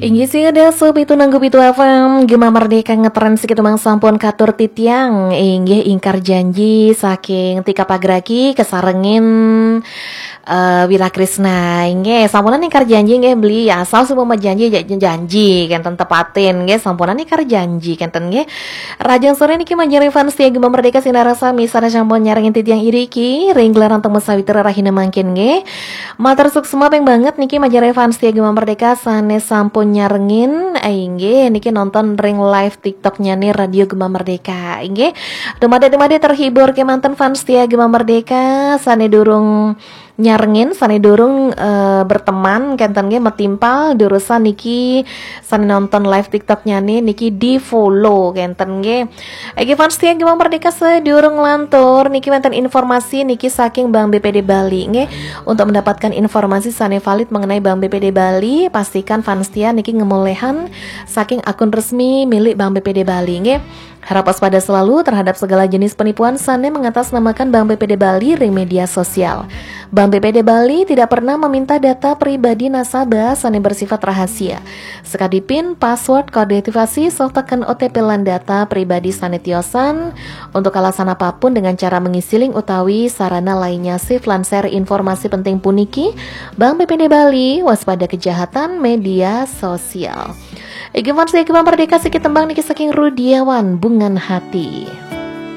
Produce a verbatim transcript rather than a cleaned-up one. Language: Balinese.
Inggih sih ada sub itu nanggup itu F M Gema Merdeka ngetren segitu mang sampun katur titiang. Inggih ingkar janji saking tika pagraki kesarengin uh, Wira Krisna. Inggih sampunan ingkar janji inggih beli asal semua janji janji kan tepatin inggih sampunan ingkar janji kan nggih. Rajang sore niki manjari fans setia Gema Merdeka sinarasa misana sampun nyarengin titiang iriki ring gelaran temu sawitra rahina mangkin nggih. Matur suksma ping banget niki manjari fans setia Gema Merdeka sane sampun nyarengin. Inggih niki nonton ring live TikToknya nih Radio Gema Merdeka. Inggih. Dumade-dumade terhibur kemanten fans setia Gema Merdeka sane durung nyarengin sane durung uh, berteman kenten nggih metimpal durusan niki sane nonton live TikToknya nih niki di follow kenten nggih. Egi fans setia Gema Merdeka sedurung lantur niki wenten informasi niki saking Bank B P D Bali nggih. Untuk mendapatkan informasi sane valid mengenai Bank B P D Bali, pastikan fans setia niki ngemolehan saking akun resmi milik Bank B P D Bali nggih. Harap waspada selalu terhadap segala jenis penipuan sane mengatasnamakan Bank B P D Bali ring media sosial. Bank B P D Bali tidak pernah meminta data pribadi nasabah sane bersifat rahasia. Sekadi pin, password, kode aktivasi, softeken O T P lan data pribadi sane tiosan untuk alasan apapun dengan cara mengisiling utawi sarana lainnya sif lan share informasi penting puniki. Bank B P D Bali, waspada kejahatan media sosial. Egi fans setia Gema Merdeka sikit tembang niki saking Rudiawan Bungan Hati.